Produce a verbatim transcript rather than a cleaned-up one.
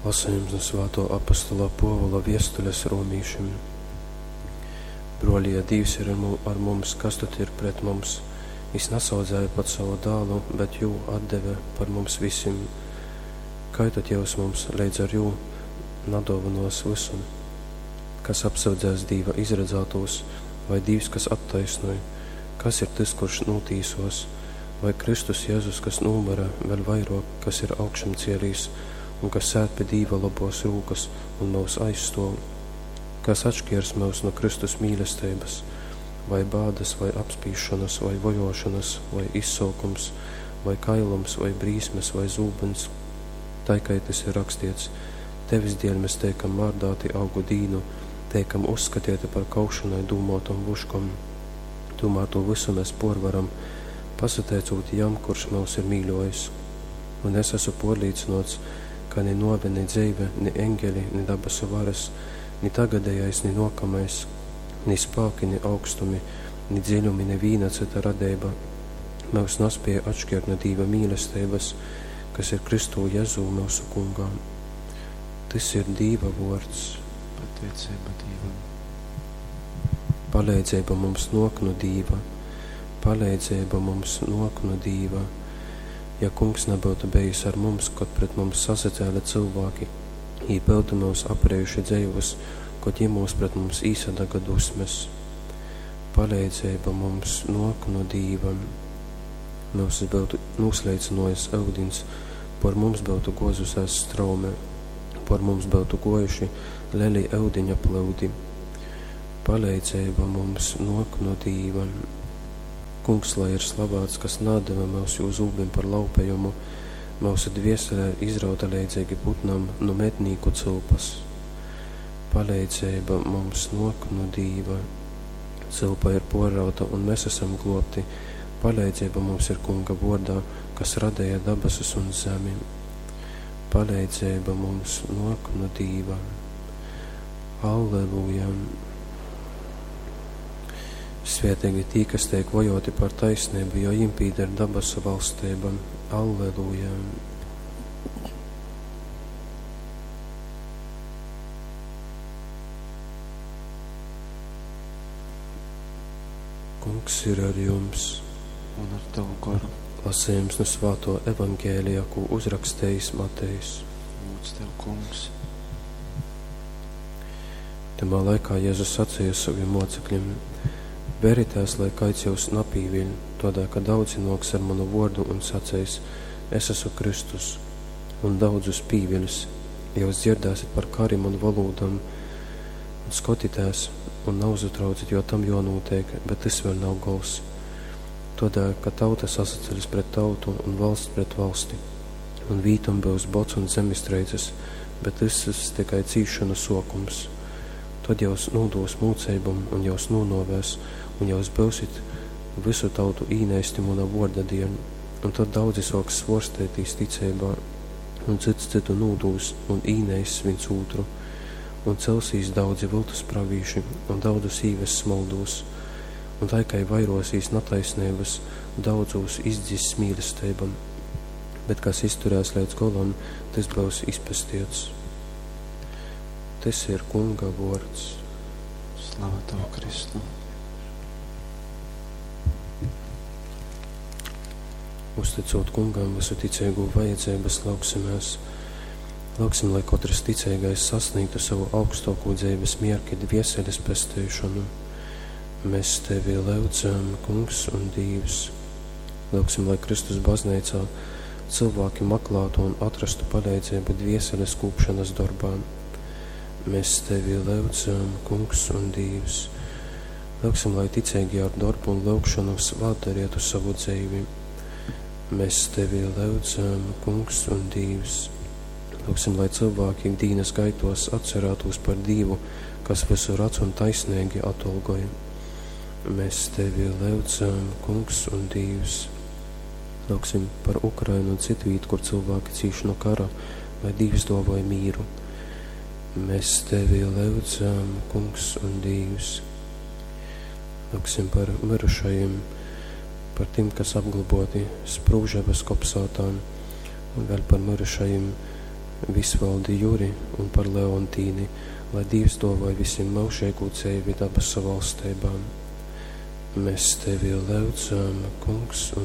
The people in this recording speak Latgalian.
Lasejums nu svātō apostola Pōvula viestules romīšim. Brōli, ja Dīvs ir ar mums, kas tad ir pret mums? Jis nasaudzēja pat sovu dālu, bet jū atdeve par mums visim. Kai tad jyus mums leidz ar jū nadōvynos vysu? Kas apsyudzēs Dīva izradzātūs, vai Dīvs, kas attaisnoj? Kas ir tys, kurš nūtīsos? Vai Kristus Jezus, kas nūmyra, vēļ vairōk, kas ir augšamcielīs un kas sēd pi Dīva lobōs rūkas un myus aizstōv? Kas atškiers myus nu Kristus mīlesteibas? Vai bādas, vai apspīsšonas, vai vojōšonas, vai izsolkums, vai kailums, vai brīsmes, vai zūbyns? Tai kai tys ir rakstiets: Tevis dieļ mēs teikam mārdāti augu dīnu, teikam uzskatieti par kaušonai dūmōtom vuškom. Tūmār tū vysu mēs pōrvaram, pasateicūt Jam, kurš myus ir mīļōjis. Un es esmu pōrlīcynōts, ka ni nōve, ni dzeive, ni eņgeli, ni dabasu varas, ni tagadejais, ni nōkamais, ni spāki, ni augstumi, ni dziļumi, ni vīna cyta radeiba myus naspēja atškiert nu Dīva mīlesteibas, kas ir Kristū Jezū myusu Kungā. Tys ir Dīva vōrds. Pateiceiba Dīvam. Paleidzeiba mums nōk nu Dīva. Paleidzeiba mums nōk nu Dīva. Ja Kungs nabyutu bejis ar mums, kod pret mums sasacēle cylvāki, jī byutu myus aprejuši dzeivus, kod jymūs pret mums īsadaga dusmes. Paleidzeiba mums nōk nu Dīva. Myusus byutu nūsleicynōjis yudins, pōr mums byutu gōzusēs straume, pōr mums byutu gōjuši leli yudiņa plyudi. Paleidzeiba mums nōk nu Dīva. Kungs lai ir slavāts, kas naatdeve myus jū zūbim par laupejumu, myusu dviesele ir izrauta leidzeigi putnam nu mednīku cylpas. Paleidzeiba mums nōk nu Dīva. Cylpa ir pōrrauta, un mes esam glōbti. Paleidzeiba mums ir Kunga vōrdā, kas radeja dabasus un zemi. Paleidzeiba mums nōk nu Dīva. Alleluja! Svēteigi tī, kas teik vajōti par taisneibu, jo jim pīder dabasu valsteiba. Alleluja! Kungs ir ar jums. Un ar tavu goru. Lasījums nu svāto evaņģēlija, ko uzrakstījis Matejs. Lūdz tev, Kungs. Tamā laikā Jēzus sacīja saviem mocekļiem: Veritēs, lai kaids jūs napīviļ, tādēļ, ka daudzi nōks ar manu vōrdu un saceis: Es esmu Kristus, un daudzus pīviļs. Jūs dzirdēsiet par karim un valūdam, un skotitēs, un nauzatraucit, jo tam jonūtiek, bet tas vēl nav gols. Tādēļ, ka tauta sasaceļas pret tautu un valsts pret valsti, un vītom būs bods un zemestreices, bet tas ir tikai cīšanu sokums. Tad jūs nūdos mūceibam un jūs nūnovēs, un jūs būsit visu tautu īneisti muna vorda dieļ, un tad daudzi soks svorstētīs ticeibā, un cits citu nūdūs un īneiss viens otru, un celsīs daudzi viltus pravīši, un daudzus īves smoldūs, un tai, kai vairosīs nataisnības, daudzūs izdziss mīlestībam, bet kas izturēs līdz golam, tas būs izpestiets. Tas ir Kunga vārds. Slava tev, Kristu! Uzticot Kungam visu ticīgo vajadzības, lūgsimies. Lūgsim, lai katrs ticīgais sasniegtu savu augstāko dzīves mierki, dvieseles pestīšanu. Mēs tevi lūdzam, Kungs un Dievs. Lūgsim, lai Kristus baznīcā cilvēki meklētu un atrastu palīdzību dvieseles kūpšanas darbā. Mēs tevi lūdzam, Kungs un Dievs. Lūgsim, lai ticīgie ar darbu un lūgšanu svētdarietu savu dzīvi. Mēs tevi lūdzam, Kungs un Dievs. Lūgsim, lai cilvēki ikdienas gaitos atcerētos par Dievu, kas visu redz un taisnīgi atolgoja. Mēs tevi lūdzam, Kungs un Dievs. Lūgsim par Ukrainu un citu vietu, kur cilvēki cīš no kara, lai Dievs dāvāja mīru. Mēs tevi lūdzam, Kungs un Dievs. Lūgsim par mirušajiem, par tiem, kas apglaboti Sprūževas kopsātā, un vēl par mirušajiem Visvaldi Juri un par Leontīni, lai Dīvs duovoj vysim myužeigū dzeivi dabasu valsteibā. Mēs tevi lyudzam, Kungs un